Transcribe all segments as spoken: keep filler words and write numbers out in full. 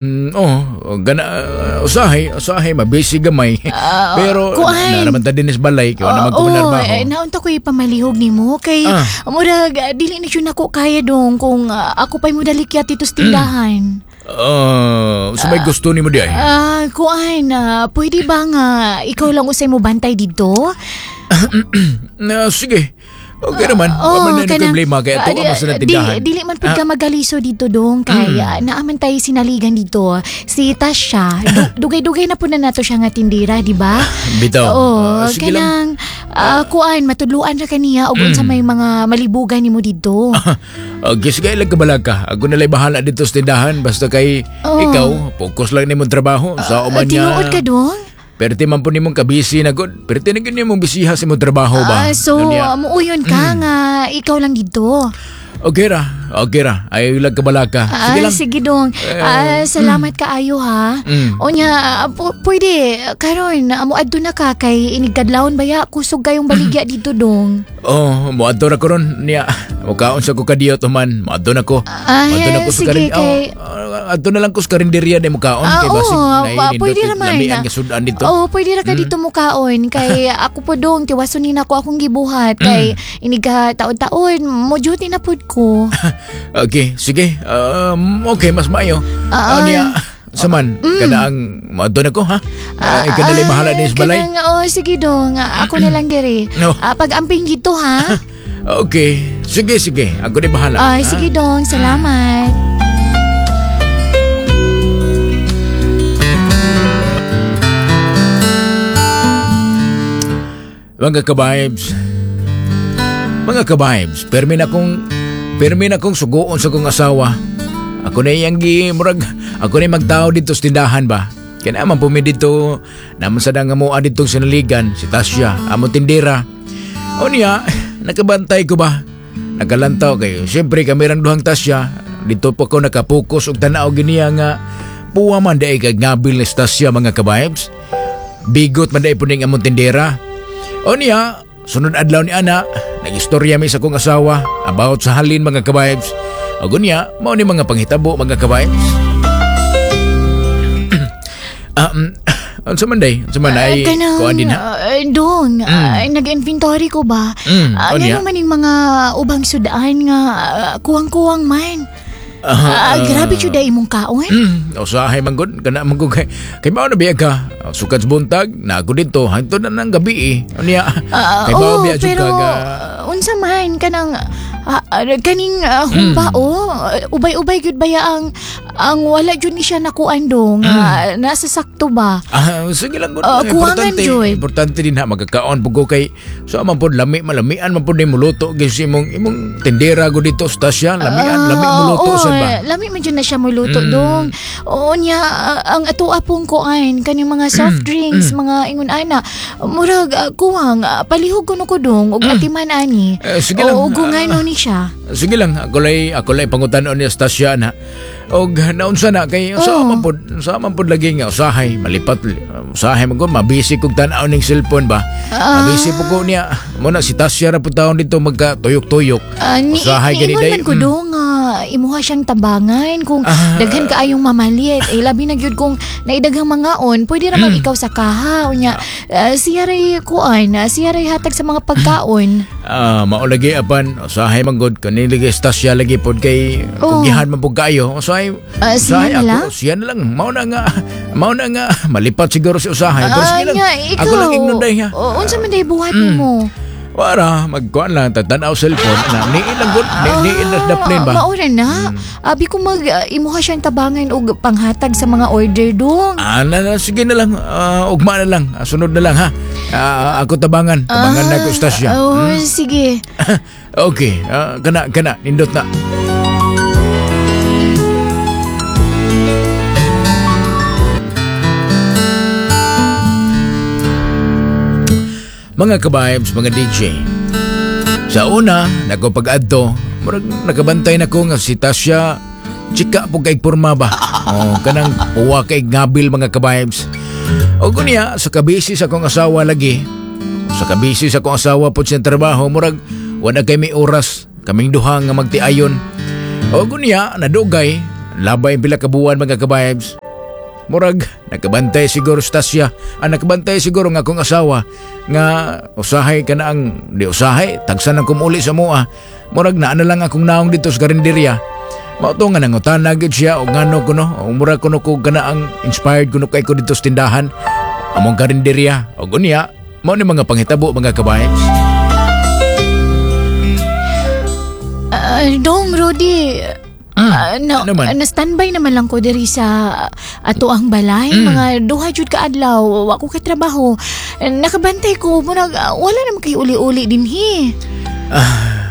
Mm, oh, gana uh, usahay, usahay mabisi gamay. Ah, Pero kuan. na naman ta dinis balay kay wala man ko Oo, manarbaho. eh, naunta ko ipamalihog nimo kay Ah. murag ah, dili na jud nako kaya dong kung ah, ako pa'y modalikyat dito sa tindahan. Ah, uh, may gusto nimo di ay. Ah, kuan, ah, pwede ba nga ikaw lang usay mo bantay dito? Na, sige. Okay naman. Wala man na kanang- problema kay ato ah, di- ang sa tindahan. Dili, dili man pud ka magaliso dito dong kay ah, naaman tayo sinaligan dito. Si Tasha, du- dugay-dugay na po na nato siya nga tindira, di ba? Bitaw. Oo, Ah, sige lang. kanang ah, kuan matudluan ra kaniya og unsa may mga malibugan nimo dito. Okay, sige lang kabalag ka. Ako na lang bahala dito sa tindahan. Basta kay Oo. ikaw, focus lang nimong trabaho. Sa Ah, uman niya. tinuod ka dong? Perti man po nimong kabisi na god. Perti na gyud nimong bisiha sa imong trabaho ba? Ah, so, Ano niya? muuyon ka nga ikaw lang dito. Okay ra. Okay ra. Ay lang kabalag ka. Sige Ah, lang. sige dong. Ah, salamat kaayo ha. Mm. Unya, ah, pu- pwede karon mo adto na ka kay inigkadlawon baya kusog kayong baligya dito dong. Oh, moadto ra ko ron niya. Mukaon sa ko kadiyot man. Moadto na ko. Ah, Moadto na ko sa sige, karin. kay- Oh, adto na lang ko sa karinderya ni mukaon Ah, kay basig oo, na pa- pwede ra man. Lamian nga sudan dito. Oo, pwede ra ka dito mukaon kay ako po dong tiwason ni nako akong gibuhat kay iniga taon-taon mo duty na pud ko. Okay, sige. Um, okay, mas maayo. Ah, Ah, niya. Saman, kada ang moadto na ko ha. Ah, ikaw na lang bahala din sa balay. Kanang, oh, sige dong, Ah, ako na lang diri. No. Ah, pag-amping dito ha. Okay, sige sige. Ako na bahala. Ay, ha? sige dong, salamat. Mga ka-vibes, mga ka-vibes, permi na kong, permi na kong suguon sa kong asawa. Ako na iyang gi, murag, ako na magtao dito sa tindahan ba. Kaya naman pumi dito, naman sa nga mua dito sinaligan, si Tasya, amo tindera. O niya, nakabantay ko ba? Nagalantaw kayo. Siyempre kami rang duhang Tasya, dito pa ko nakapokus og tanaw giniya nga puwa man daig kag ngabil ni Tasya mga ka-vibes. Bigot man daig po ning among tindera. O niya, sunod adlaw ni ana, nagistorya mi sa kong asawa about sa halin mga ka-vibes. O niya, mao ni mga panghitabo mga ka-vibes. um, unsa man day? Unsa man ay Ah, kanang, kuan din ha? ah, dong, ah, nag-inventory ko ba? Mm, Ah, ano ngano niya? man yung mga ubang sudaan nga ah, kuwang-kuwang man. Ah, grabe jud ay imong kaon. Mm, usahay man gud kana man gud kay kay mao na biya ka. Sukad sa buntag na ako dito hangtod na ng gabi eh. Ano niya? Ah, kay mao oo, biya jud pero ka ga ah, unsa man kanang ah, ah, kaning ah, humba Mm. oh, ubay-ubay gyud baya ang ang wala jud ni siya nakuan dong. Ah, nasa sakto ba? Ah, sige lang gud. Ah, kuwangan importante, jud. importante din ha magkakaon pud ko kay so man pod lami malamian man pod ni muluto gyud si imong imong tindera gud dito sa Tasya, lamian lami Ah, muluto oo, sad ba. Mm. Lami man jud na siya muluto dong. Oo niya ah, ang ato apong kuan kaning mga soft Mm. drinks, mga ingon ana. Murag ah, kuwang ah, palihog kuno ko dong og atiman ani. Mm. Eh, sige lang. Oo, ug ngano ni siya. Sige lang, ako lay ako lay pangutan-on ni Tasya na. Og naunsa na kay sa Oo. man pod sa man pod lagi nga usahay malipat usahay man gud mabisi kog tan-aw ning cellphone ba. Ah. Mabisi po ko niya. Mo na si Tasya ra pud taon dito magka tuyok-tuyok. Ah, ni, Usahay gani niingon day. man ko Mm. dong nga imuha siyang tabangan kung Ah. daghan kaayong mamalit eh labi na gyud kung naidaghang mangaon pwede ra Mm. man ikaw sa kaha unya ah, siya ray kuan ah, siya ray hatag sa mga pagkaon. Ah, mao lagi apan usahay man gud kani lagi Tasya lagi pod kay Oo. kugihan man pud kaayo. Usahay Ah, siya usahay na ako, lang? siya na lang. Mao na nga mao na nga malipat siguro si usahay. Pero Ah, sige lang. nya, ikaw, Ako lang ingnon day ha. O, unsa man day buhat Mm. nimo? Wara, magkuan lang, tatanaw cellphone. Na, niin lang gud, ni, niin lang na plane ba? Ah, Maura na. Abi ko mag ah, imuha siyang tabangan og panghatag sa mga order dong. Ah, na, na, sige na lang, Ah, ugma na lang, Ah, sunod na lang ha. Ah, ako tabangan, tabangan na ko istasya. Oh, sige. Okay, ah, kana, kana, nindot na. Mga ka-vibes, mga D J. Sa una, nako pag-adto, murag nakabantay na ko nga si Tasya, chika po kay porma ba? Oh, kanang puwa kay ngabil mga ka-vibes. O kunya, sa kabisi sa akong asawa lagi, sa kabisi sa akong asawa po sa trabaho, murag wala kay may oras, kaming duha nga magtiayon. O kunya, nadugay, Labay pila ka buwan, mga ka-vibes. Murag, nakabantay siguro si Tasya. Ah, nakabantay siguro nga akong asawa nga usahay ka na ang, di usahay, tagsan ang kumuli sa mua. Murag naa na lang akong naong dito sa karinderya. Mao to nga nangutana gyud siya og ngano kuno, og murag kuno ko kana ang inspired kuno kay ko dito sa tindahan. Among karinderya. Og unya, mao ni mga panghitabo, mga ka-vibes. Ah, dong, Rudy. Ah, na, ano man? Na standby naman lang ko diri sa ato ang balay. Mm. Mga duha jud ka adlaw, wa ko kay trabaho. Nakabantay ko murag ah, wala naman kay uli-uli dinhi.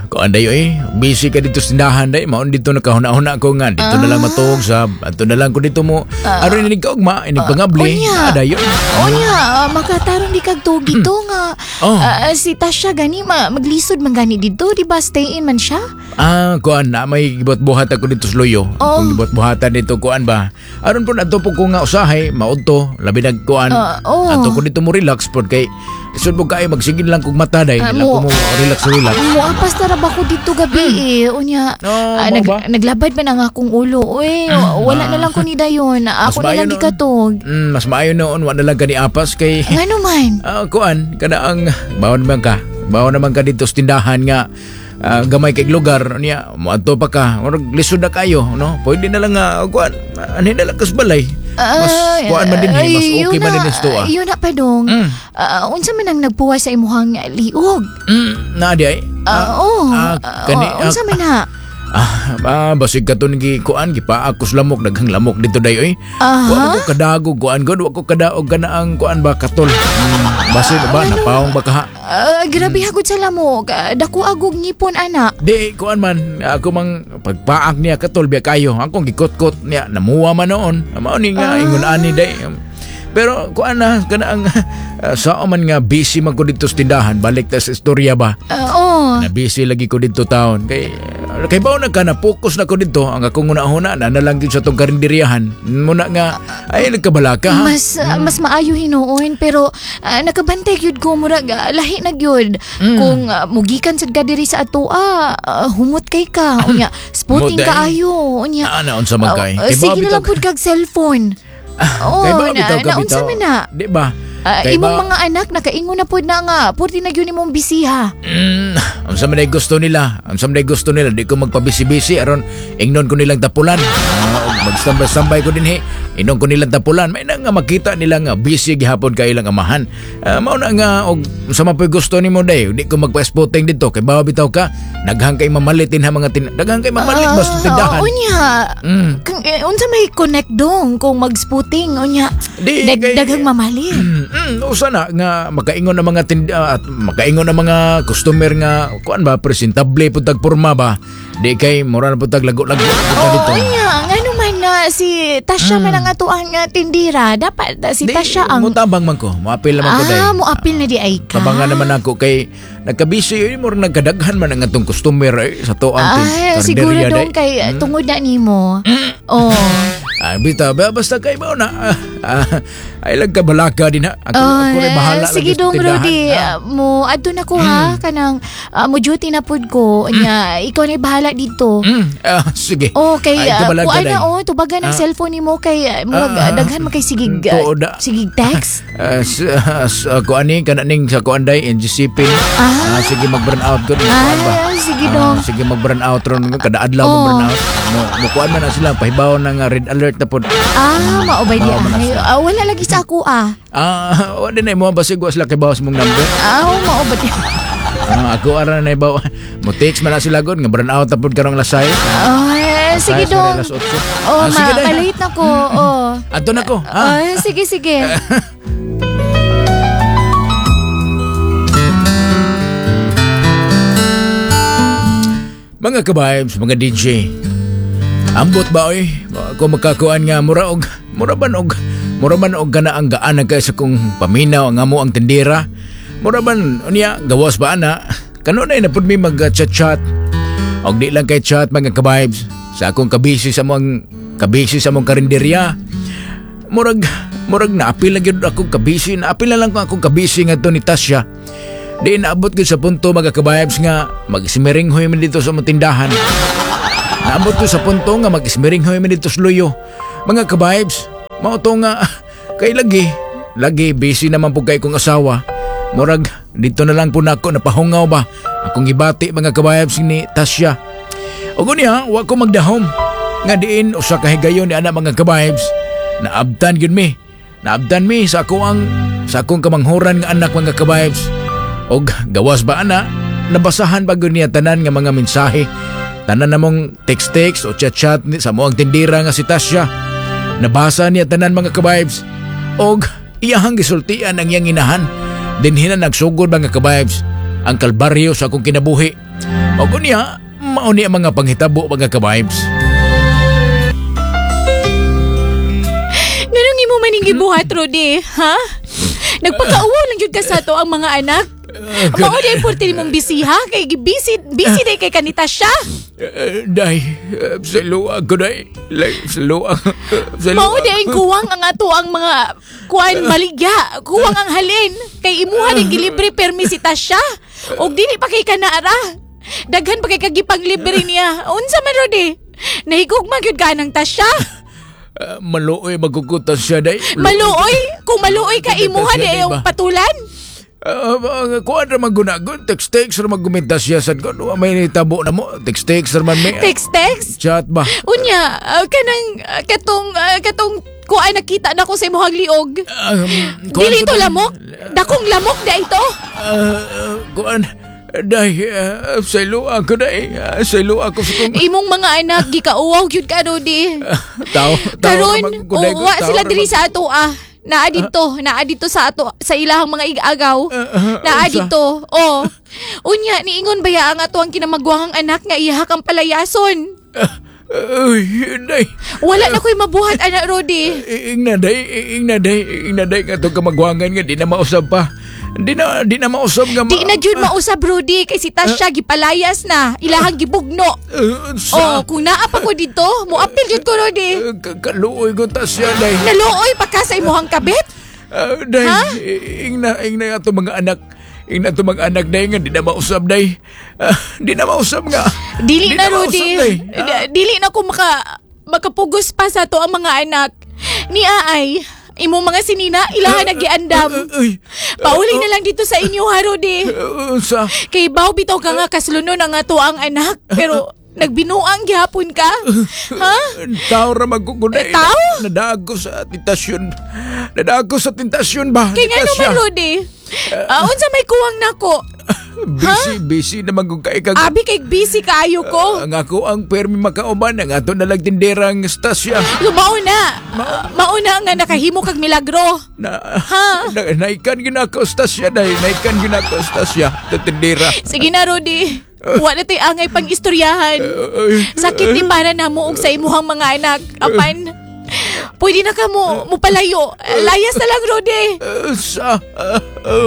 Kuan dayo eh, busy ka dito sa tindahan day, maon dito nakahuna-huna ko nga dito na lang matuog sa ato na lang ko dito mo. Aron inig kaugma, inig pangabli, unya. ah, dayo. Unya, ah, makatarong di kag tuog dito nga. Oh. Ah, si Tasha gani ma, maglisod man gani dito, di ba? Stay in man siya. Ah, kuan na may gibuhat-buhat ako dito sa luyo. Oh. Kung gibuhat-buhatan dito kuan ba. Aron po adto po ko nga usahay maudto, labi nag kuan. Ah, oh. Ato ko dito mo relax pod kay lisod mo kaayo magsigin lang kog mata day, Ah, uh, lang ko mo- mo relax relax. Muapas na ra ba ko dito gabi eh. Unya, No, ah, mao nag, ba? naglabad man ang akong ulo. Uy, wala na lang ko ni dayon. Ako na maayo lang noon. gikatog. Mm, mas maayo noon wa na lang kani apas kay Ngano man? Ah, kuan kana ang bawon naman ka. Bawon naman ka dito sa tindahan nga ah, gamay kay lugar niya moadto pa ka. Murag lisod na kayo, no? Pwede na lang nga kuan, anhi na lang kas balay. Mas Ah, kuan man din eh, mas ay, okay yun man na, din ito ah. Yun na pa dong. Mm. Ah, unsa man ang nagpuwa sa imuhang liog? Mm, na di ay. Ah, oh. ah, kani- Ah, unsa man na? Ah, ah basig ka to gi kuan gipaakos lamok, daghang lamok dito day oy. Aha. Wa ko kadago kuan god, wa ko kadaog kana ang kuan ba katol. Mm, basig ba napaong ba kaha? Ah, grabe hagod sa lamok. Ah, dako agog ngipon ana. Di, kuan man, ako mang pagpaak niya katol biya kayo. Akong gikot-kot niya, namuha man noon. Mao ni nga, Ah. ingon ani day. Pero kuan na, kana ang uh, sao man nga busy man ko dito sa tindahan, balik ta sa istorya ba. Ah, oh. Na busy lagi ko dito taon. Kay kay bawo na ka na focus na ko dito ang akong una-una na na lang gyud sa tong karinderyahan. Muna nga ay nagkabalaka ha. Mas ah, mas maayo hinuon pero ah, nakabantay gyud ko murag ah, lahi na gyud. Mm. Kung ah, mugikan sad ka diri sa atoa, ah, humot kay ka. Unya, spotting Humot, eh. kaayo. Unya. Ah, na unsa man kay. Ah, Kay sige ba na lang bitaw- pud kag cellphone. Oh, Kay ba na, bitaw ka naunsa bitaw? man na. Di ba? Ah, Kay imong ba- mga anak nakaingon na pud na nga, purti na gyud imong bisiha. Mm, ang sa man ay gusto nila, ang sa man ay gusto nila, di ko magpabisi-bisi aron ingnon ko nilang tapulan. Ah, og magstambay-stambay ko dinhi, ingnon ko nilang tapulan. May na nga makita nila nga busy gihapon kay ilang amahan. Ah, mao na nga og sa man po'y gusto nimo day, di ko magpa-spotting dito kay bawa bitaw ka, daghang kay mamalitin ha mga tin daghang kay mamalit Ah, basta tindahan. Unya. Mm. Kung, eh, unsa may connect dong kung mag-spotting unya. Di, Dag, kay- daghang mamalit. Mm, mm, usa na nga makaingon ang mga tind- ah, at makaingon ang mga customer nga kuan ba presentable pud tag porma ba di kay mura na pud tag lago-lago pud ta Oo, dito. unya. Ngano man na si Tasha man ang ato ang ah, tindira. Dapat ah, si Di, Tasha ang mutabang man ko, moapil naman ko day. Ah, moapil na di ay ka. Tabangan naman ako kay nagkabisi eh, mura nagkadaghan man ang atong customer eh, sa to ang Ah, siguro dong kay ah, tungod na nimo. Oh. Ah, bitaw ba basta kay mao na. Ah, ah, ay lang kabalaka din ha. Ako, ako rin bahala Oh, sige lagi sa dong tindahan. Rudy, Ah. ah, mo adto na ko ha kanang ah, mo duty na pud ko. Unya, ikaw na bahala dito. Mm, ah, sige. Oh, kay Ay, uh, kabalaka kuan day. na oh, tubagan ang Ah. cellphone nimo kay uh, murag Ah, ah. daghan man kay sigig ah, Tuod na. sigig text. Ah, s- ah, s- ah, kuan ni kana ning sa kuan day N G C P ni. Ah. Ah, sige mag-burn out ko. Kuan ba? Ah, sige Ah, dong. sige mag-burn out ron kada adlaw Oh. mag-burn out. Mo mo kuan man na sila pahibaw ng ah, red alert na pod. Ah, maubay di Mao man na ay. sila. Ah, wala lagi sa ako ah. Ah, wa din ay mo basig wa sila kay bawas mong number. Ah, mao ba di? Ah, ako ara na ibaw. Mo text man na sila god nga burn out na pod karong lasay. Ah, sige Lasay, dong. alas otso. Oh, Ah, sige ma day. malate na ko. Oh. Adto na ko. Ah. Ah, sige sige. Mga ka-vibes, mga D J. Ambot ba oy? Ako makakuan nga mura og mura ban og mura ban og kana ang gaan kay sa kong paminaw ang amo ang tindera. Mura ban unya gawas ba ana? Kanunay na pud mi mag-chat-chat. Og di lang kay chat mga ka-vibes sa akong kabisi sa among kabisi sa among karinderya. Murag murag naapil lang gyud akong kabisi, naapil na lang ko akong kabisi ngadto ni Tasha. Di naabot gyud sa punto mga ka-vibes nga magsimeringhoy man dito sa among tindahan. Naabot ko sa punto nga mag-ismiringhoy mi dito sa luyo. Mga ka-vibes, mao to nga kay lagi, lagi busy naman po kay kong asawa. Murag dito na lang po nako napahungaw ba. Akong gibati, mga ka-vibes, ni Tasya. Ug unya, wa ko magdahom nga diin usa ka higayon ni ana, mga ka-vibes. Naabtan gyud mi. Naabtan mi sa ako ang sa akong kamanghuran nga anak, mga ka-vibes. Og gawas ba ana, nabasahan ba gyud niya tanan nga mga mensahe. Tanan namong text-text o chat-chat ni sa among tindira nga si Tasya. Nabasa niya tanan, mga ka-vibes. Og iyahang gisultian ang iyang inahan. Dinhi na nagsugod, mga ka-vibes, ang kalbaryo sa akong kinabuhi. Og unya, mao ni ang mga panghitabo, mga ka-vibes. Nganong imo maning gibuhat, Rudy? Ha? Nagpakauwaw lang jud ka sa ato ang mga anak. Mao di importante nimong busy ha? Kay busy, busy day kay kanita siya. Uh, day, uh, sa luag ko, day. Like, sa luag. Sa Mao di ay kuwang ang ato ang mga kuan baligya. Kuwang ang halin. Kay imuha ni gilibre permi si Tasya. Og dili pa kay kanaara. Daghan pa kay kagipanglibre niya. Unsa man, Rudy? Nahigugma gyud ka ng Tasya. Uh, maluoy magkukutas siya, day. Maluoy? Kung maluoy ka, imuha di ay patulan. Uh, uh, kuan ra maggunagon, text-text ra maggumintas siya sad ko. May nitabo na mo, text-text ra man may. Text text? Chat ba? Unya, uh, kanang uh, katong uh, katong kuan nakita na ko sa imong liog. Um, kuan Dili ko ito na- lamok. Dakong lamok da ito. Uh, uh, kuan, day, uh, sa luag ko, day. Uh, sa luag ko sa kong Imong mga anak gikauwaw gyud ka, Rudy. Tao, tao Karon, ra magkuday ko, wa tao sila ra diri mag- sa ato ah. Naa dito, naa dito sa ato sa ilahang mga igagaw. Uh, Naa unsa? dito. Oh. Unya niingon baya ang ato ang kinamagwahang anak nga iha kang palayason. Uy, day. Wala na ko'y mabuhat anak, Rudy. Ingna day, ingna day, ingna day nga itong kamagwangan nga di na mausab pa. Di na, di na mausab nga ma- Di na jud mausab, Rudy, kay si Tasha gipalayas na, ilahang gibugno. Uh, sa, Oh, kung naa pa ko dito, moapil jud ko, Rudy. Uh, ka- kaluoy ko Tasya, day. Naluoy pa ka sa imuhang kabit? Uh, day, Ha? ingna, ingna nga itong mga anak. Ingna itong mga anak, day, nga di na mausab, day. Uh, di na mausab nga. Dili Di na, mausab, Rudy. day. Di- Dili na ko maka makapugos pa sa ato ang mga anak. Ni Aay, imong mga sinina, ilahan nagiandam. Uy, Pauli na lang dito sa inyo ha, Rudy. uh, sa, Kay baw bitaw ka nga kaslunon ang ato ang anak, pero nagbinuang gihapon ka. Ha? Tao ra magkukunay. Eh, tao? Nadaag ko sa tentasyon. Nadaag ko sa tentasyon ba? Kay nga Tasya. naman, Rudy. Ah, unsa may kuwang nako? Busy, busy naman kung kay kag. Abi kay busy kaayo ko. Ang ako ang permi makauban ang ato nalang tinderang Stasya. So, mao na. Mao na nga nakahimo kag milagro. Na, Ha? na naikan ginako Stasya dahil naikan ginako Stasya ta tindera. Sige na, Rudy. Wa na to'y angay pang istoryahan. Sakit ni para namo og sa imuhang mga anak. Apan, pwede na ka mo, mo palayo. Layas na lang, Rudy. Uh, sa uh,